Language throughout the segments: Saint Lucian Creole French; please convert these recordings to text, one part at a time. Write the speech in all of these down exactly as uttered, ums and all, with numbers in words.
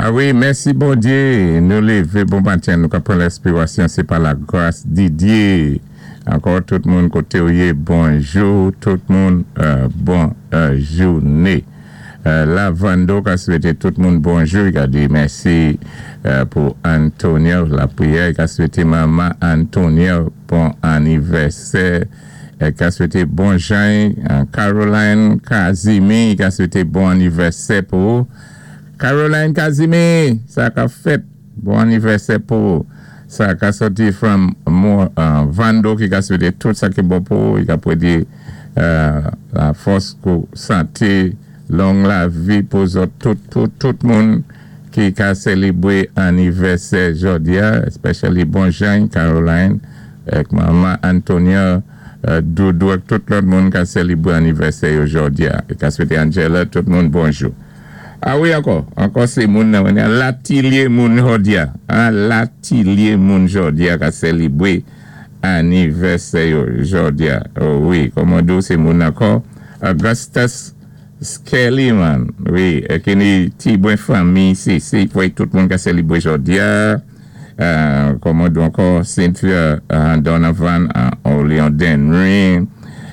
Ah wi, mèsi Bondyé. Nou lévé bon maten, nou ka pran lespirasyon, sé pa la gras di Dyé. Ankò tout moun koté ou yé, bonjou, tout moun, euh, bon euh, jouné. Euh, Lavando ka swété tout moun bonjou, i ka di mèsi euh, pou Antonio, lapriyè, i ka swété manman Antonio bon anivèsè, i ka swété bon Jean, euh, Caroline Kazimi, i ka swété bon anivèsè pou Caroline Kazimi, sa ka fèt, bon anivèsè pou sa ka sòti from mo, euh, Vando ki ka swété tout sa ki bon pou, i ka pwédi euh, la fòs kou santé, long lavi pou zòt, tout, tout, tout moun ki ka sélébwé anivèsè jòdi-a, especially bon Jean, Caroline, ak manman Antonia, euh, Doudou, ak tout lòt moun ka sélébwé anivèsè yo jòdi-a. I ka swété Angela, tout moun bonjou. Ah wi, ankò, ankò sé moun nan, latilye moun jòdi-a, an, latilye moun jòdi-a ka sélébwé anivèsè yo jòdi-a. Oh wi, kòman dou sé moun ankò, Augustus Skelly man, wi, ki ni ti bwen fanmi, sé, sé, wi, tout moun ka sélébwé jòdi-a, euh, kòman dou ankò, Cynthia uh, Donovan, uh, Oleon Denry,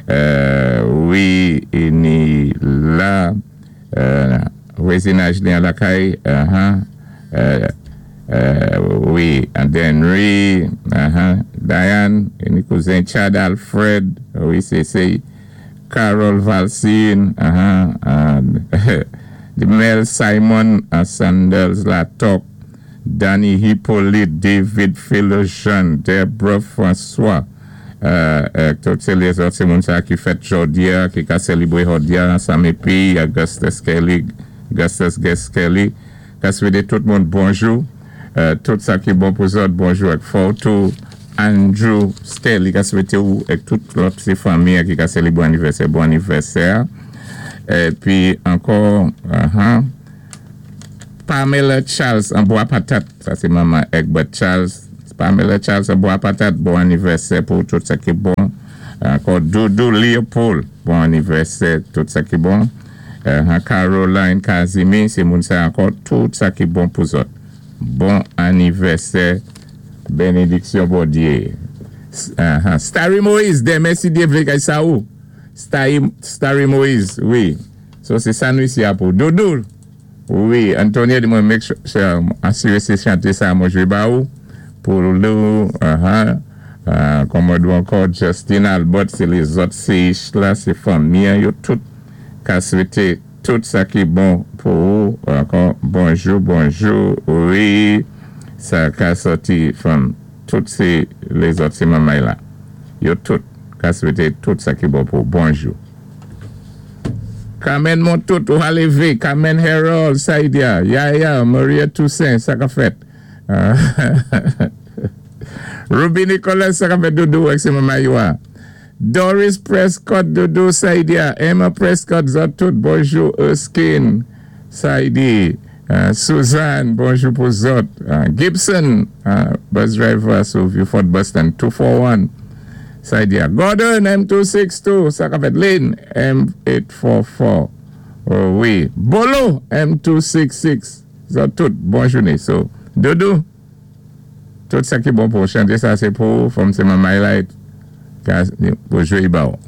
euh, wi, i ni la, euh, vwazinaj li an lakay, uh-huh, euh, euh, wi, and Denry, uh-huh, Diane, i ni kouzen Chad Alfred, wi, sé, sé, Carol Valsine, uh-huh, and Mel Simon, uh, Sanders Latok, Danny Hippolyte, David Philogene, Deborah François, euh, euh, tout sé lézòt, sé moun sa ki fèt jòdi-a, ki ka sélébwé jòdi-a, Sammy P, Augustus Kelly, Augustus Guest Kelly, ka swété tout moun bonjou, euh, tout sa ki bon pou zòt, bonjou ak Fortou, Andrew Skelly, ka swété ou, ak tout lòt sé fanmi ki ka sélébwé anivèsè, bon anivèsè. Épi ankò, uh-huh, Pamela Charles an Bois Patat, sa sé manman Egbert Charles, Pamela Charles an Bois Patat, bon anivèsè pou tout sa ki bon. Ankò Doudou Leopold, bon anivèsè, tout sa ki bon. Uh, Caroline Kazimi, sé moun sa ankò, tout sa ki bon pou zòt. Bon anivèsè, bénédiksyon Bondyé. Uh, Starry Moïse, denmen si Dyé vlé kay sa ou. Starry, Starry Moïse, wi. So sé sa nou isi a pou. Doudou, wi, Antonio di mwen make sure, asiré sé chanté sa mwen jwé ba ou. Pou lou, uh-huh, uh, kòman dou ankò, Justin Albert, sé lézòt sé la, sé fanmi, yo tout ka swété tout sa ki bon pou ou. Ankò, bonjou, bonjou, wi, sa ka sòti from tout sé lézòt sé manmay la. Yo tout ka swété tout sa ki bon pou bonjou. Carmen Montout, ou alévé, Carmen Harold, Saidia, Yaya, Maria Toussaint, sa ka fèt. Ruby Nicholas, sa ka fèt Doudou, ak sé manmay yo a. Doris Prescott, Doudou, Saidia, Emma Prescott, zòt tout, bonjou, Erskine, Saidi, uh, Suzanne, bonjou pou zòt. Uh, Gibson, uh, bus driver sou Vieux-Fort Boston, two four one, Saidia. Gordon, M two six two, sa ka fèt. Lynn, M eight four four. Oh wi. Bolo, M two six six. Zòt tout, bon jouné. So, Doudou, tout sa ki bon pou chanté sa, sé pou, fòm sé manmay la, pou jwé ba ou.